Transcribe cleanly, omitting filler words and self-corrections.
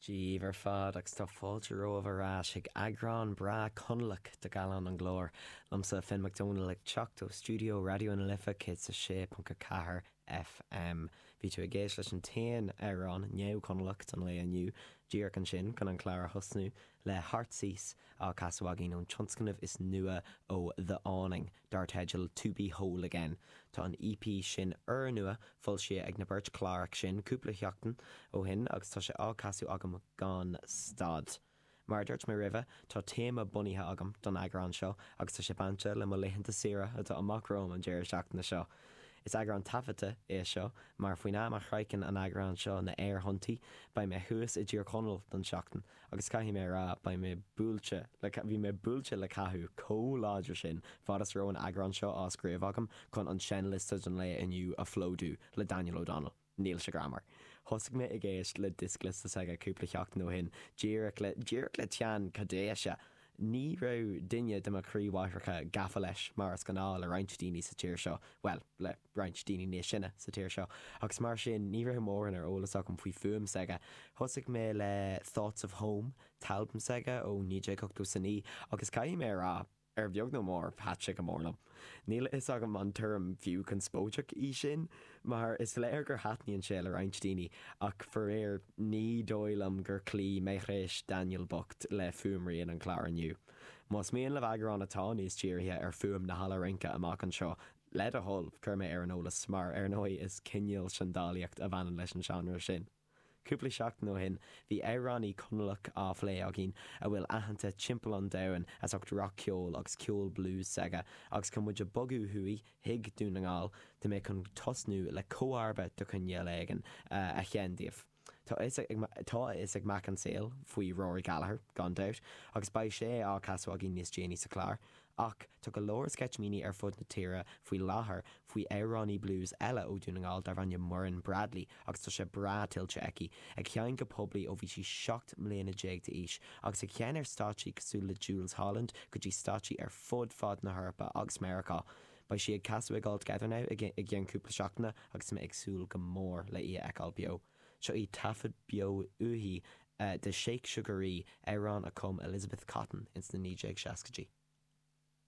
Dia dhaoibh ar fad agus tá fáilte romhaibh ar ais chuig eagrán breá Conallach de Gallán an Ghlóir. Liomsa Finn Mac Dónaill ag teacht ó stiúideo Raidió na Life 106.4 FM. Bhí tú ag éist leis an t-aon amhrán neamh-Chonallach don lae inniu, díreach ansin chun an clár a thosnú, le Heartsease á casadh againn ón tionscnamh is nua ó The Awning, dar teideal To Be Whole Again. Tá an EP sin úrnua foilsithe ag na beirt Chlárach sin cúpla sheachtain ó shin agus tá sé á casadh agam gan stad. Mar a dúirt mé roimhe, tá téama bunaithe agam don eagrán seo agus tá sé bainte le mo laethanta saoire atá amach romham an deireadh seachtaine seo. Is eagrán taifeadta é seo mar faoin am a shroicheann an eagrán seo na aerthonntaí, beidh mé thuas i dTír Chonaill don seachtain agus caithfidh mé a rá, beidh mé buailte le, bhí mé buailte le cathú chomh láidir sin fad is a raibh an eagrán seo á scríobh agam chun an seinnliosta don lae inniu a phlódú le Daniel O'Donnell. Níl sé greannmhar. Thosaigh mé ag éist le dioscliosta s'aige cúpla sheachtain ó shin, díreach le, díreach le teann caidéise. Ní raibh duine de mo chroímháithreacha gafa leis, mar is gnáth le roinnt daoine sa tír seo, bhuel, le roinnt daoine níos sine sa tír seo, agus mar sin ní raibh mórán ar eolas agam faoi fuaim s'aige. Thosaigh mé le Thoughts of Home, t-albam s'aige ó 1989, agus caithfidh mé a rá, Ar bheag nó mór, thait sé go mór liom. Níl a fhios agam an tuairim fiú conspóideach í sin, mar is léir gur thaitníonn sé le roinnt daoine, ach faraor, ní dóigh liom gur chloígh méchréis Daniel bocht le fuaimrian an chláir inniu. Más mian libh eagrán atá níos dírithe ar fuaim na halla rince amach anseo, le do thoil, cuir mé ar an eolas, mar ar ndóigh is cineál seandálaíocht a bhaineann leis an seánra sin. Cúpla seachtain ó shin, bhí amhránaí Conallach á phlé againn a bhfuil aitheanta timpeall an domhain as ucht rac-cheol agus ceol blues s'aige, agus chun muid a bogadh thuaidh chuig Dún na nGall, tá mé chun tosnú le comharba de chineál éigin a sheinn daoibh. Tá a fhios ag mac an tsaoil faoi Rory Gallagher, gan dabht, agus beidh sé á casadh againn níos déanaí sa chlár. Ach tá go leor sceitimíní ar fud na tíre faoi láthair faoi amhránaí blues eile ó Dhún na nGall darb ainm Muireann Bradley agus tá sé breá tuillte aici, ag seinm go poiblí ó bhí sí 17 mbliana d'aois agus ag seinm ar stáitsí cosúil le Jools Holland go dtí stáitsí ar fud fad na hEorpa agus Meiriceá. Beidh sí ag casadh ag All Together Now i gceann cúpla seachtaine agus tá mé ag súil go mór le í a fheiceáil beo. Seo í taifead beo uaithi de Shake Sugaree, amhrán a chum Elizabeth Cotton ins na 1960idí.